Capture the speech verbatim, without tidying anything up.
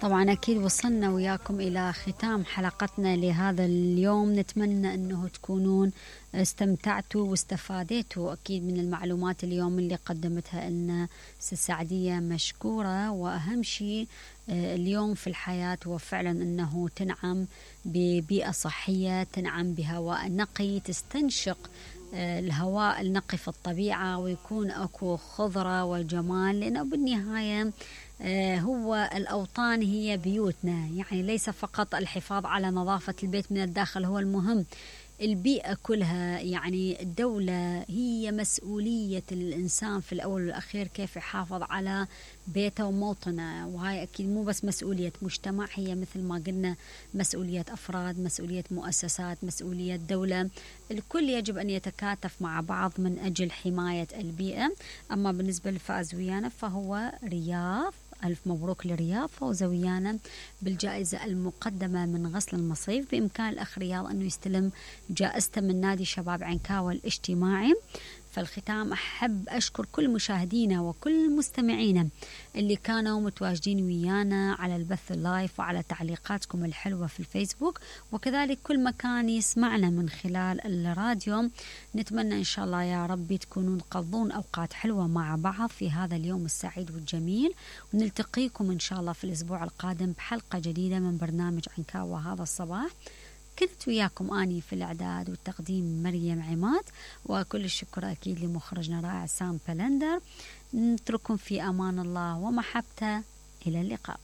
طبعا أكيد وصلنا وياكم إلى ختام حلقتنا لهذا اليوم. نتمنى أنه تكونون استمتعتوا واستفاديتوا أكيد من المعلومات اليوم اللي قدمتها لنا ست سعدية. مشكورة. وأهم شيء اليوم في الحياة هو فعلا أنه تنعم ببيئة صحية، تنعم بهواء نقي، تستنشق الهواء النقي في الطبيعة، ويكون أكو خضرة والجمال، لأنه بالنهاية هو الأوطان هي بيوتنا. يعني ليس فقط الحفاظ على نظافة البيت من الداخل هو المهم، البيئة كلها. يعني الدولة هي مسؤولية الإنسان في الأول والأخير كيف يحافظ على بيته وموطنه، وهاي أكيد مو بس مسؤولية مجتمع، هي مثل ما قلنا مسؤولية أفراد، مسؤولية مؤسسات، مسؤولية دولة. الكل يجب أن يتكاتف مع بعض من أجل حماية البيئة. أما بالنسبة للفائز ويانا فهو رياض، ألف مبروك لرياض، فوز ويانا بالجائزة المقدمة من غسل المصيف. بإمكان الأخ رياض أنه يستلم جائزته من نادي شباب عنكاوة الاجتماعي. فالختام أحب أشكر كل مشاهدينا وكل مستمعينا اللي كانوا متواجدين ويانا على البث اللايف وعلى تعليقاتكم الحلوة في الفيسبوك، وكذلك كل مكان يسمعنا من خلال الراديو. نتمنى إن شاء الله يا رب تكونون تقضون أوقات حلوة مع بعض في هذا اليوم السعيد والجميل، ونلتقيكم إن شاء الله في الأسبوع القادم بحلقة جديدة من برنامج عنكاوة هذا الصباح. كنت وياكم أني في الإعداد والتقديم مريم عماد، وكل الشكر أكيد لمخرجنا رائع سام بلندر. نترككم في أمان الله ومحبته، إلى اللقاء.